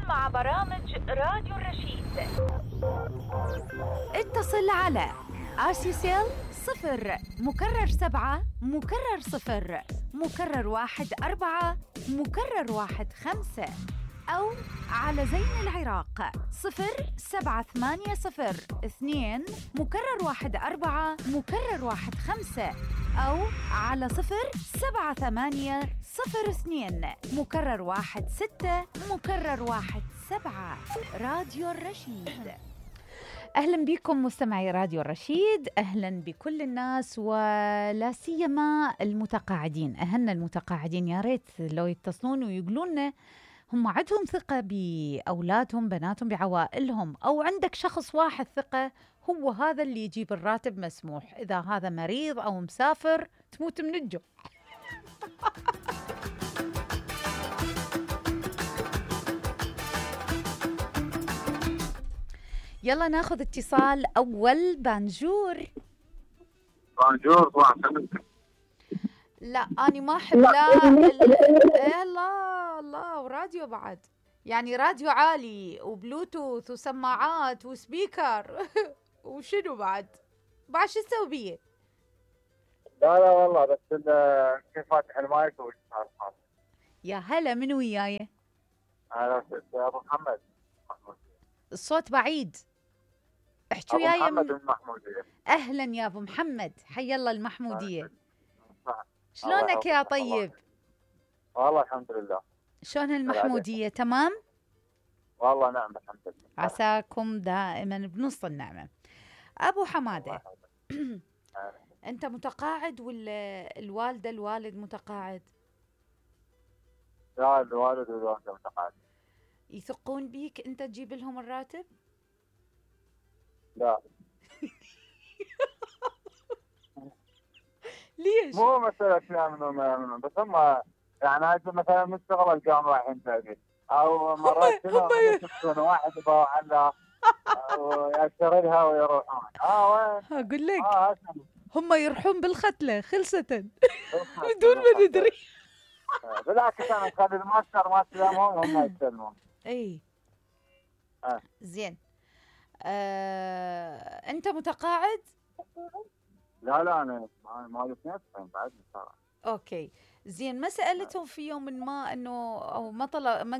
مع برامج راديو الرشيد. اتصل على آسيسيل 0 مكرر 7 مكرر 0 مكرر 1 4 مكرر 1 5 أو على زين العراق 0780 2 مكرر 1 4 مكرر 1 5 أو على 078 02 مكرر 1 6 مكرر 1 7. راديو الرشيد. أهلا بكم مستمعي راديو الرشيد، أهلا بكل الناس ولا سيما المتقاعدين. أهلنا المتقاعدين، يا ريت لو يتصلون ويقولون هم عندهم ثقة بأولادهم بناتهم بعوائلهم، أو عندك شخص واحد ثقة هو هذا اللي يجيب الراتب مسموح، إذا هذا مريض أو مسافر تموت من الجوع. يلا ناخذ اتصال أول. بانجور. لا أنا ما أحب لا الله وراديو بعد، يعني راديو عالي وبلوتوث وسماعات وسبيكر وشنو بعد شو تسوي بيه؟ لا والله بس كيف فاتح المايك وش صار. يا هلا، من وياي؟ أنا أبو محمد. الصوت بعيد، احكوا وياي. وياي. محمد المحمودية. أهلا يا أبو محمد، حي الله المحمودية. شلونك يا طيب؟ والله الحمد لله. شلون المحمودية؟ تمام؟ والله نعم الحمد لله. عساكم دائما بنص النعمة. أبو حمادة أنت متقاعد ولا الوالد متقاعد؟ لا، الوالد والوالدة متقاعد. يثقون بيك أنت تجيب لهم الراتب؟ لا. ليش؟ مو مسألة منهم بس هم يعني مثلا مستغرب الجامعة رايحين تأجيل، أو مرات يشوفون واحد يبغى على ويشتغلها ويروحون. وين؟ أقول لك هم يروحون بالختلة خلصة بدون ما ندري. بالعكس أنا أخلي الماستر ما تلامهم هم يستلمون. أي زين. أنت متقاعد؟ لا أنا ما الاثنين بعد صراحة. أوكي زين. ما سألتهم في يوم ما إنه أو ما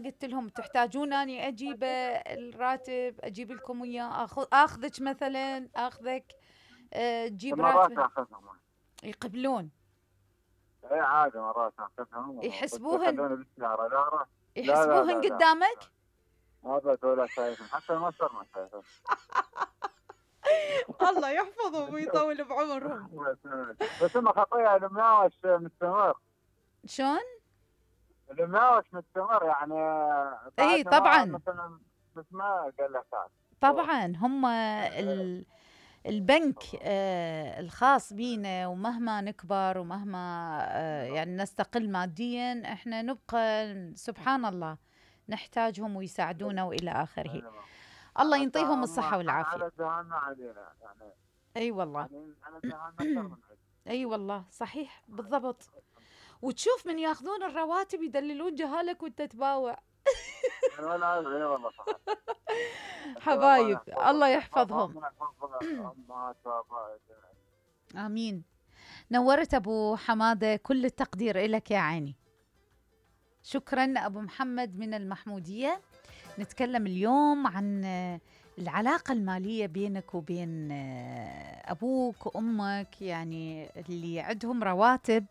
قلت لهم تحتاجون أني أجيب الراتب أجيب لكم إياه، أخذك مثلا أخذك تجيب راتب؟ يقبلون؟ إيه عادي مرات أخذهم. يحسبوهن قدامك؟ هذا ولا شايفهم، حتى المصر ما شايفهم. الله يحفظهم ويطول بعمرهم. بس هم خطية المناوش مستمر. شلون؟ المناوش مستمر يعني. اي طبعا. مثلا بس ما قال لك طبعا هم البنك الخاص بينا، ومهما نكبر ومهما يعني نستقل ماديا احنا نبقى سبحان الله نحتاجهم ويساعدونا والى اخره. الله ينطيهم الصحة والعافية. على جهلنا علينا يعني. اي والله. على جهلنا أكثر من اي والله صحيح بالضبط. وتشوف من ياخذون الرواتب يدللون جهالك وانت تباوع. والله صح. حبايب الله يحفظهم. آمين. نورت أبو حمادة، كل التقدير إلك يا عيني. شكرا أبو محمد من المحمودية. نتكلم اليوم عن العلاقة المالية بينك وبين أبوك وأمك، يعني اللي عندهم رواتب.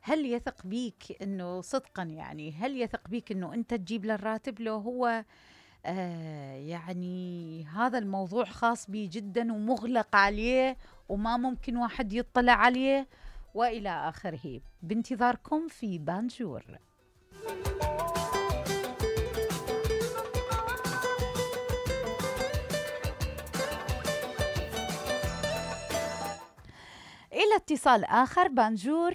هل يثق بيك إنه صدقا، يعني هل يثق بيك إنه أنت تجيب له الراتب؟ لو هو يعني هذا الموضوع خاص بي جدا ومغلق عليه وما ممكن واحد يطلع عليه وإلى آخره. بانتظاركم في بانجور. إلى اتصال آخر. بانجور.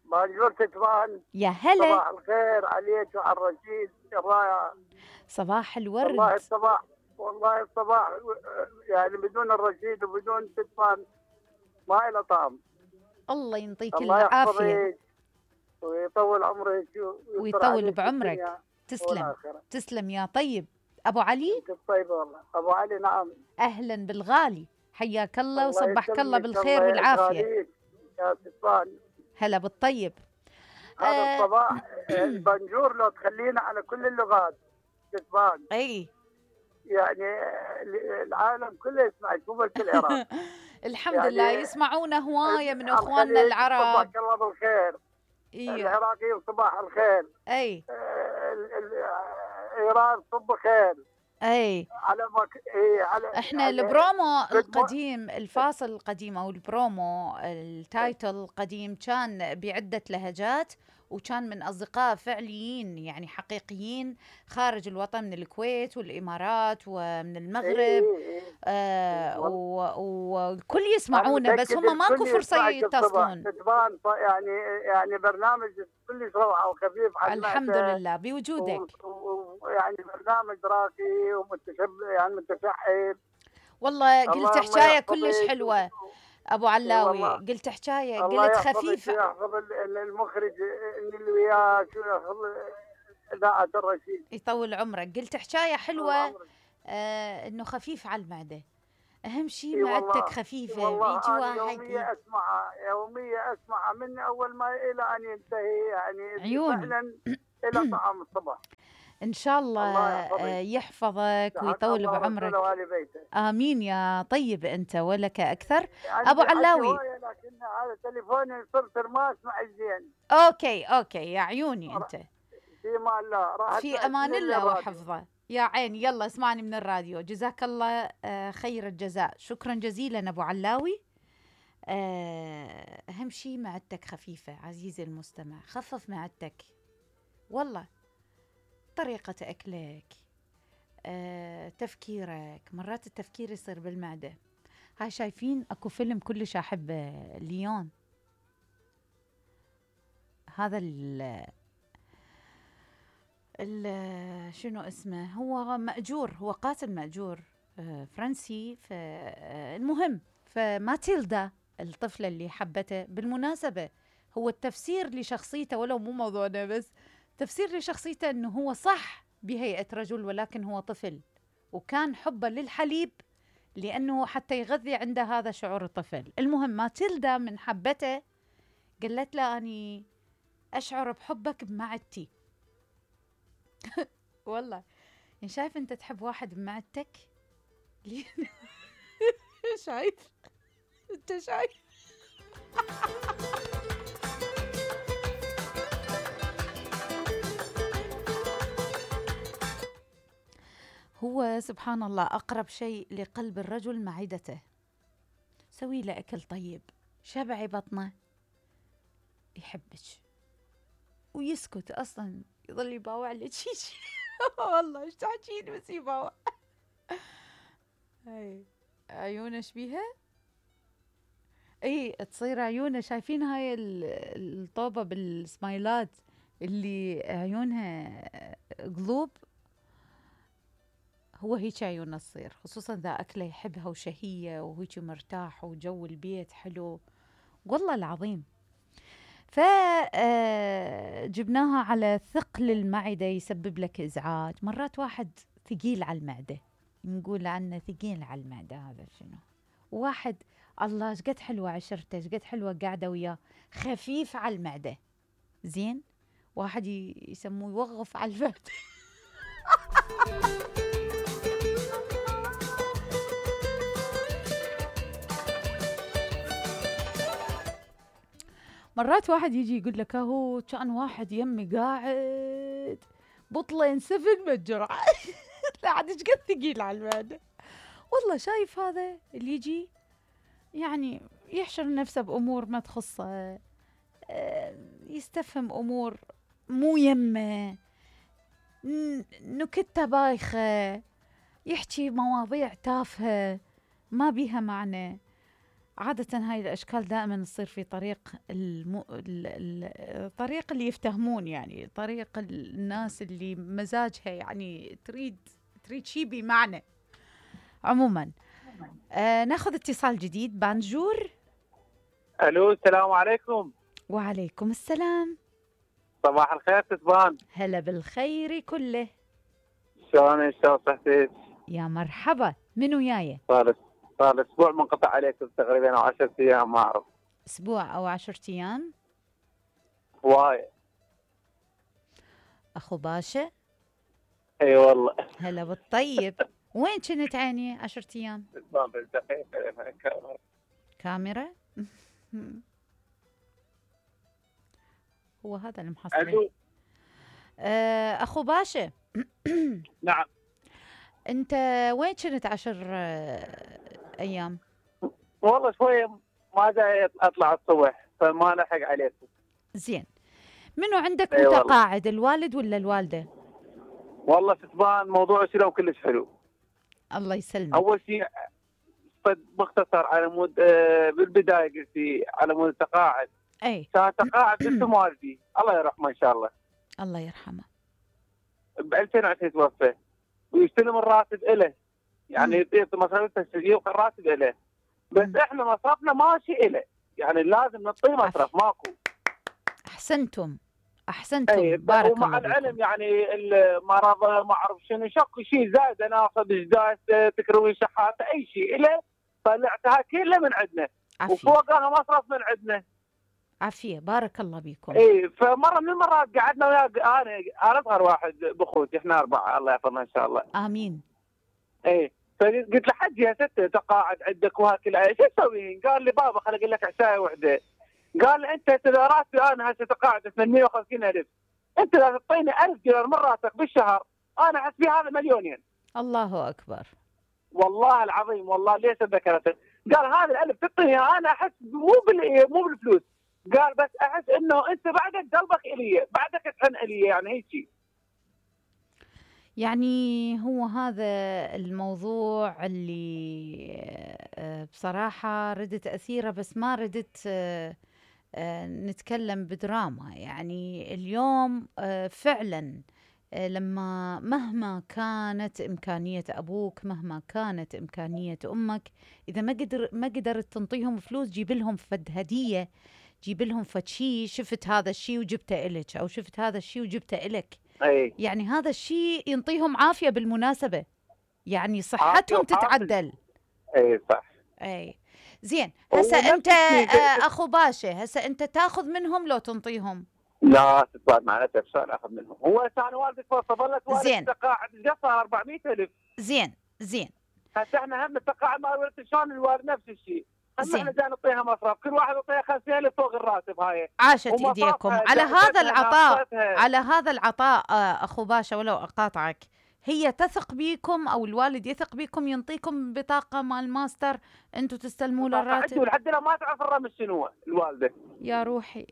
بانجور تتبان. يا هلا. صباح الخير عليك وعلى الرشيد. صباح الورد. والله الصباح يعني بدون الرشيد وبدون تتبان ما إلى طعم. الله ينطيك العافية ويطول عمرك ويطول بعمرك. تسلم والآخرة. تسلم يا طيب. أبو علي، أنت طيبة والله. أبو علي نعم. أهلا بالغالي، حياك الله وصبحك الله يسلمك، بالخير الله والعافية. يغاليك يا ستفان. هلا بالطيب. هذا الصباح البنجور لو تخلينا على كل اللغات ستفان. أي يعني العالم كله يسمع، شو بس العراق. الحمد يعني لله يسمعونا هواية من أخواننا العرب. صباحك الله بالخير. العراقيين صباح الخير. أي إيران صبح خير. أي على على احنا يعني البرومو القديم، الفاصل القديم او البرومو التايتل القديم كان بعدة لهجات، وكان من اصدقاء فعليين يعني حقيقيين خارج الوطن، من الكويت والامارات ومن المغرب. والكل يسمعونا، بس هم ماكو فرصة يتصلون. يعني برنامج كلش روعة وخفيف على الحمد لله بوجودك. يعني برنامج راقي ومتشبع، يعني متفعل. والله قلت حكاية كلش حلوة أبو علاوي، قلت حكاية قلت خفيفة. الله يحفظ المخرج اللي وياه، شو يحفظ إذاعة الرشيد، يطول عمرك. قلت حكاية حلوة إنه خفيف على المعدة، أهم شيء معدتك خفيفة. بيجي واحد يومية أسمعها من أول ما إلى أن ينتهي، يعني عيون فعلا إلى طعام الصباح. إن شاء الله يحفظك ويطول بعمرك. آمين يا طيب أنت ولك أكثر. يعني أبو علاوي، لكن هذا تليفوني صرت ما أسمع زين. أوكي يا عيوني أنت. في أمان الله، في أمان الله وحفظه يا عيني. يلا اسمعني من الراديو. جزاك الله خير الجزاء، شكرا جزيلا أبو علاوي. أهم شيء معدتك خفيفة عزيزي المستمع، خفف معدتك والله. طريقة أكلك، تفكيرك، مرات التفكير يصير بالمعدة. هاي شايفين أكو فيلم كلش أحبه، ليون، هذا شنو اسمه، هو مأجور، هو قاتل مأجور فرنسي. المهم فماتيلدا الطفلة اللي حبته، بالمناسبة هو التفسير لشخصيته، ولو مو موضوعنا، بس تفسير لشخصيته أنه هو صح بهيئة رجل ولكن هو طفل، وكان حبه للحليب لأنه حتى يغذي عنده هذا شعور الطفل. المهم ماتيلدا من حبته قالت له أني أشعر بحبك بمعدتي. والله يعني شايف أنت تحب واحد بمعدتك؟ شايف أنت شايف. هو سبحان الله أقرب شيء لقلب الرجل معدته. سوي له أكل طيب، شبعي بطنه، يحبك ويسكت أصلا، يظل يباوع لك شيء. والله ايش تحكين بس يباوع. هاي عيونه شبيها، اي تصير عيونه، شايفين هاي الطوبة بالسمايلات اللي عيونها قلوب، هو هيك عيونه تصير، خصوصا ذا أكله يحبها وشهية وهيك مرتاح وجو البيت حلو والله العظيم. فجبناها على ثقل المعدة يسبب لك إزعاج. مرات واحد ثقيل على المعدة، نقول عنه ثقيل على المعدة، هذا شنو؟ واحد الله شقد حلوة عشرته، شقد حلوة قاعدة وياه، خفيف على المعدة، زين. واحد يسموه يوظف على المعدة. مرات واحد يجي يقول لك هو كان واحد يمي قاعد بطلين 7 متجرعة. لا عاد ايش قد ثقيل على المعدة. والله شايف هذا اللي يجي يعني يحشر نفسه بأمور ما تخصه، يستفهم أمور مو يمه، نكتة بايخة، يحكي مواضيع تافهة ما بيها معنى. عادة هاي الأشكال دائما تصير في طريق الطريق اللي يفتهمون، يعني طريق الناس اللي مزاجها يعني تريد شي بمعنى. عموما ناخذ اتصال جديد. بانجور. الو السلام عليكم. وعليكم السلام. صباح الخير تتبان. هلا بالخير كله. شلون صحتك؟ يا مرحبا، من وياي؟ صار اسبوع منقطع عليكم تقريبا او 10 ايام ما اعرف. اسبوع او 10 ايام؟ هواية. اخو باشا؟ اي والله. هلا بالطيب. وين كنت عيني 10 ايام؟ تتبان بالدقيقة كاميرا؟ هو هذا اللي محصل. اخو باشا. نعم. انت وين كنت 10 ايام؟ والله شوية ما جاي اطلع الصبح فما لحق عليكم. زين، منو عندك والله. متقاعد، الوالد ولا الوالدة؟ والله تتبان موضوع سلو كلش حلو. الله يسلمك. اول شيء باختصر على مود بالبداية قلتي على مود التقاعد. اي كان تقاعد اسم والدي الله يرحمه ان شاء الله. الله يرحمه. ب 2020 توفى ويستلم الراتب له، يعني يعطي مصاريف التسجيل والراتب له، بس احنا مصرفنا ماشي له، يعني لازم نعطيه مصرف ماكو. احسنتم أي بارك الله ومع العلم بكم. يعني المرض ما اعرف شنو شكو شيء زايد ناخذ جداس تكروي شحاته اي شيء له، طلعتها كلها من عندنا وفوقها مصرف من عندنا. عافيه بارك الله بكم. اي فمره من المرات قعدنا وياه انا اصغر واحد باخوتي، احنا 4 الله يحفظنا ان شاء الله. امين. اي فقلت له حجي يا ستة تقاعد عندك وهكذا شو تسوي؟ قال لي بابا خليني اقول لك عشايه وحده. قال لي انت اذا راتبي انا هسه تقاعد 850,000 انت اذا تعطيني 1000 دينار من راسك بالشهر انا احس فيه هذا مليونين. الله اكبر. والله العظيم والله ليش ذكرته؟ قال هذا الألف تعطيني انا احس مو بالفلوس، قال بس احس انه انت بعدك قلبك الي، بعدك تحن الي، يعني هيك شيء. يعني هو هذا الموضوع اللي بصراحة ردت أثيره، بس ما ردت نتكلم بدراما. يعني اليوم فعلا لما مهما كانت إمكانية أبوك، مهما كانت إمكانية أمك، إذا ما قدرت تنطيهم فلوس، جيب لهم فد هدية، جيب لهم فد شيء، شفت هذا الشيء وجبته إلك، أو شفت هذا الشيء وجبته إلك. أي. يعني هذا الشيء ينطيهم عافية بالمناسبة، يعني صحتهم تتعدل. اي صح. اي زين. هسه انت اخو باشا، هسه انت تاخذ منهم لو تنطيهم؟ لا تتبعد مع نفسك شلون اخذ منهم؟ هو كان والدك ظلت والدك تقاعد قصر 400,000. زين هسه احنا هم التقاعد مال والدك شلون الوالد نفس الشيء. احنا جاي نعطيها مصرف، كل واحد يعطيها 50,000 فوق الراتب. هاي عاشت ايديكم على هذا العطاء، على هذا العطاء اخو باشا. ولو اقاطعك، هي تثق بيكم او الوالد يثق بيكم، ينطيكم بطاقه مال ماستر انتم تستلموا له الراتب؟ لحد الان ما تعرف الرمز شنو الوالده. يا روحي.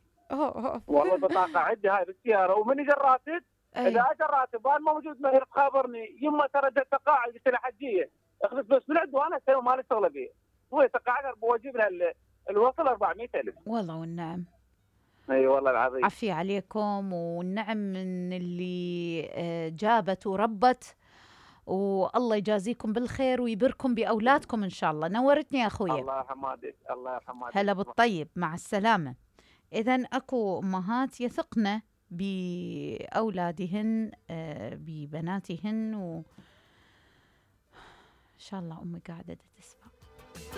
والله بطاقه عندي هاي بالسياره، ومن اجى الراتب اذا اجى الراتب وانا موجود ما تخابرني يما ترى تقاعد، قلت له حجيه اخذ فلوس من عنده وانا اسوي مالي شغله بيه. هو تقاعد بوجيب له الوصل 400,000. والله والنعم. اي والله العظيم. عافية عليكم، والنعم من اللي جابت وربت، والله يجازيكم بالخير ويبركم بأولادكم إن شاء الله. نورتني يا أخويا. الله يرحمك. الله يرحمك. هلا بالطيب، مع السلامة. إذن أكو أمهات يثقن بأولادهن ببناتهن، إن شاء الله أمي قاعدة تسمع.